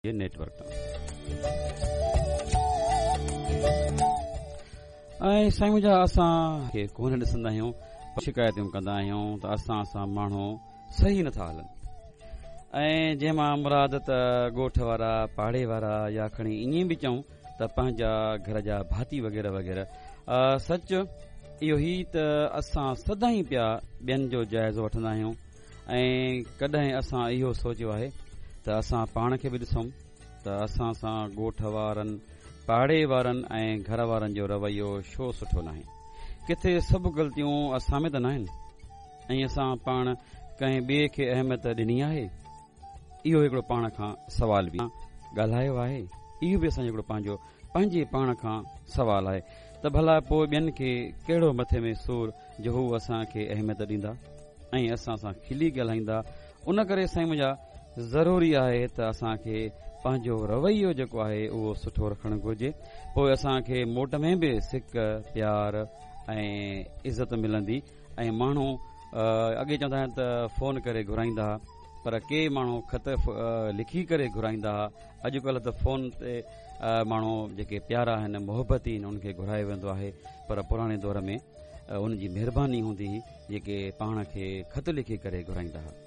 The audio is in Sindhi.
جي نيٽ ورڪ تان. ۽ سائين منهنجا اسان کي ڪونه ڏسندا آهيون شڪايتون ڪندا آهيون ته اسان سان ماڻهو صحيح نٿا هلن ۽ جنهن مان مراد ته ڳوٺ وارا پاڙي وارا يا کڻي ائين به چئون ته پنهنجا گهر جا ڀاتي وغيره وغيره سچ اهو هي ته اسان سدائين پيا ٻين جو جائزو وٺندا آهيون ۽ ڪڏهن اسان اهو سوچيو آهي ته اسان پاڻ کي به ڏسون ته اسان سان ڳوٺ وارن، پاڙي وارن ۽ گهر وارن جو رويو ڇو سٺو ناهي؟ ڪٿي سڀ غلطيون اسان ۾ ته ناهن؟ ۽ اسان پاڻ ڪنهن ٻئي کي اهميت ڏني آهي؟ اهو هڪڙو پاڻ کان سوال به ڳالهايو آهي؟ اهو به اسان جو هڪڙو پنهنجو پنهنجي پاڻ کان سوال آهي ته ڀلا پوء ٻين کي ڪهڙو مٿي ۾ سور جو هو اسان کي اهميت ڏيندا ۽ اسان سان کلي ڳالهائيندا. ان ڪري سائين منهنجا ضروري آهي ته اسان کي پنهنجو رويو جيڪو آهي اهو سٺو رکڻ گهرجي پوء اسان کي موٽ ۾ به سڪ پيار ۽ عزت ملندي ۽ ماڻهو اڳي چوندا آهن ته فون ڪري گهرائيندا ها پر ڪي ماڻهو خط لکي ڪري گهرائيندا ها اڄڪلهه ته فون تي ماڻهو جيڪي پيارا آهن محبتي آهن انهن کي گهرايو ويندو آهي پر پراڻي دور ۾ ان جي مهرباني هوندي هئي جيڪي پاڻ کي خط لکي ڪري گهرائيندا هئا.